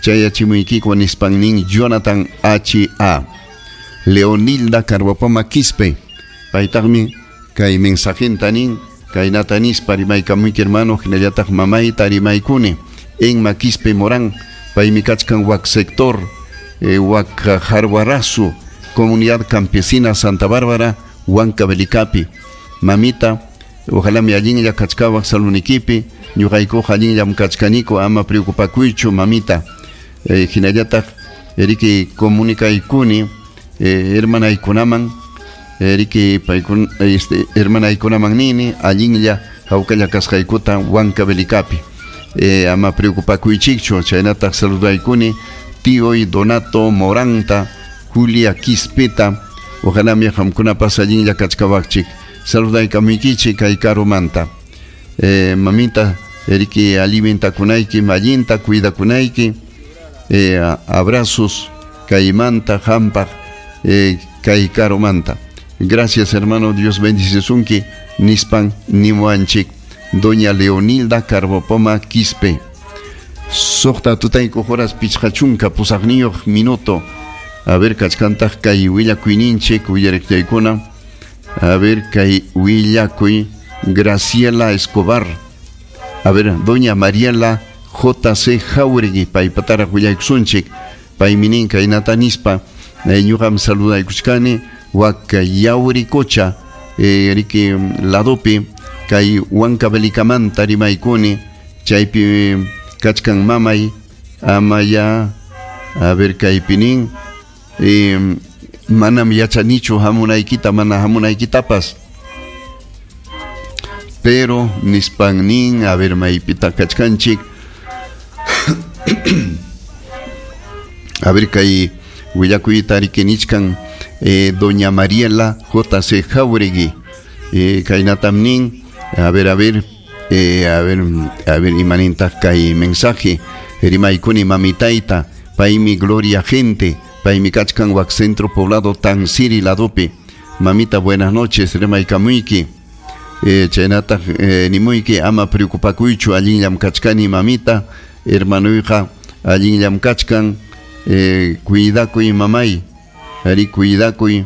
Chayachimuykiku nispan nin Jonathan H.A. Leonilda Carhuapoma Quispe. Paytaqmi kay mensajenta nin kaynata nispa rimaykamuyki hermano hinallataq mamayta rimaykuni Enma Quispe Morán paymi kachkan wak sector wak Jarwarazu comunidad campesina Santa Bárbara Huancavelicapi. Mamita, ojalá mi allinlla kachkawaq salunikipi ñuqaykuqa allinllam kachkaniku ama preocupakuychu mamita. Hinallataq riki comunicaykuni hermanaykunaman riki paykun hermanaykunaman nini allinlla hawkalla kasqaykuta Huancavelicapi. Ama preocupakuychikchu chaynataq saludaykuni tíoy Donato Moranta Julia Quispeta ojalá mi qamkunapas allinlla kachkawaqchik saludaykamuykichik kay karumanta. Mamita riki alimentakunayki allinta cuidakunayki abrazos kaymanta hampaq kay karumanta. Gracias hermano, Dios bendice nispan nimuanchik doña Leonilda Carbopoma Quispe. Suqta tutayku horas pichqachunka pusaqniyuq minuto. A ver kachkantaq kay willakuyninchik willariqtaykuna. A ver kay willakuy Graciela Escobar. A ver doña Mariela J.C. Jauregui paypataraq willaykusunchik paymi nin kaynata nispa ñuqam saludaykuchkani wak Yauricocha riki ladopi kay Huancavelicamanta rimaykuni chaypi kachkan mamay amaya a ver kaypi nin manam yachanichu hamunaykita mana hamunaykitapas pero nispan nin a ver maypita kachkanchik a ver kay willakuyta riki nichkan doña Mariela J.C. Jauregui kaynatam nin a ver a ver a ver imanintaq kay mensaje rimaykuni mamitayta paymi Gloria Gente paymi kachkan wak centro poblado Tansiri ladopi. Mamita buenas noches rimaykamuyki chaynataq nimuyki ama preocupakuychu allinllam kachkani mamita hermanuyqa allinllam kachkan cuidakuy mamay ari cuidakuy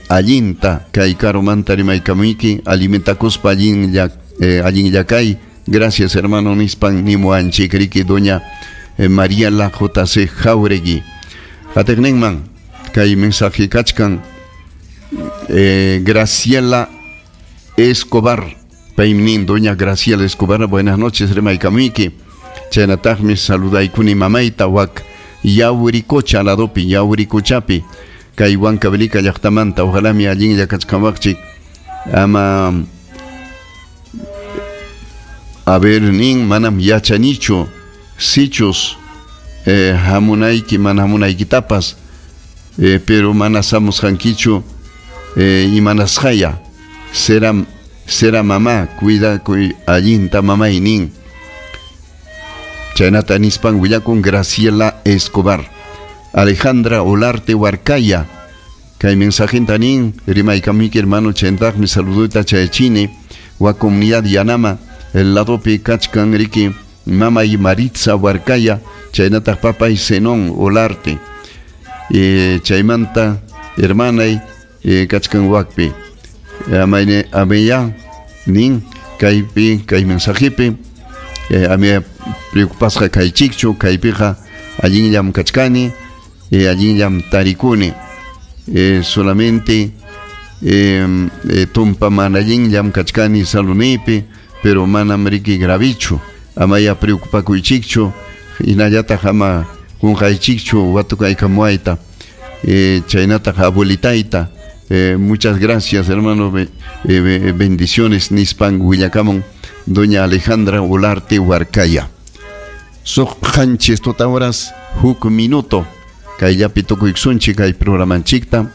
allinta kay karumanta rimaykamuyki alimentakuspa allinlla kay. Gracias hermano nispan nimuanchik riki doña Mariela J.C. Jauregui. Qatiqninman kay mensaje kachkan Graciela Escobar paymi nin doña Graciela Escobar buenas noches rimaykamuyki chaynataqmi saludaykuni mamayta wak Yauricocha ladopi Yauricochapi kay Huancavelica llaqtamanta ojalá mi allinlla kachkanwaqchik ama a ver nin manam yachanichu sichus hamunayki mana hamunaykitapas pero mana samusqankichu imanasqaya será mamá cuidakuy allinta mamay nin chaynata nispan willakun Graciela Escobar. Alejandra Olarte Huarcaya kay mensajenta nin rimaykamuyki hermano chayntaqmi saluduyta chayachini wa comunidad Yanama el ladopi kachkan riki mamay Maritza Huarcaya chaynataq papay Zenón Olarte chaymanta hermanay kachkan wakpi ameya nin kaypi kay mensajepi amia preocupasqa kaychikchu kaypiqa allinllam kachkani allinllam tarikuni solamente tumpa mana allinllam kachkani salunipi pero manam riki gravichu amaya preocupakuychikchu hinallataq ama qunqaychikchu watukaykamuayta chaynataq abuelitayta. Muchas gracias hermano, bendiciones nispan willakamun doña Alejandra Olarte Huarcaya. Suq qanchis tuta horas huk minuto kayllapi tukuykusunchik kay programanchikta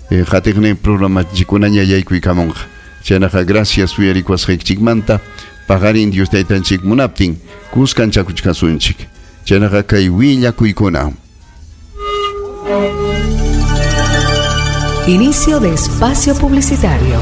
qatiqnin programanchikkunaña yaykuykamunqa. Chaynaqa gracias uyarikuwasqaykichikmanta paqarin Dios taytanchik munaptin kuskanchakuchkasunchik. Chaynaqa kay willakuykuna. Inicio de espacio publicitario.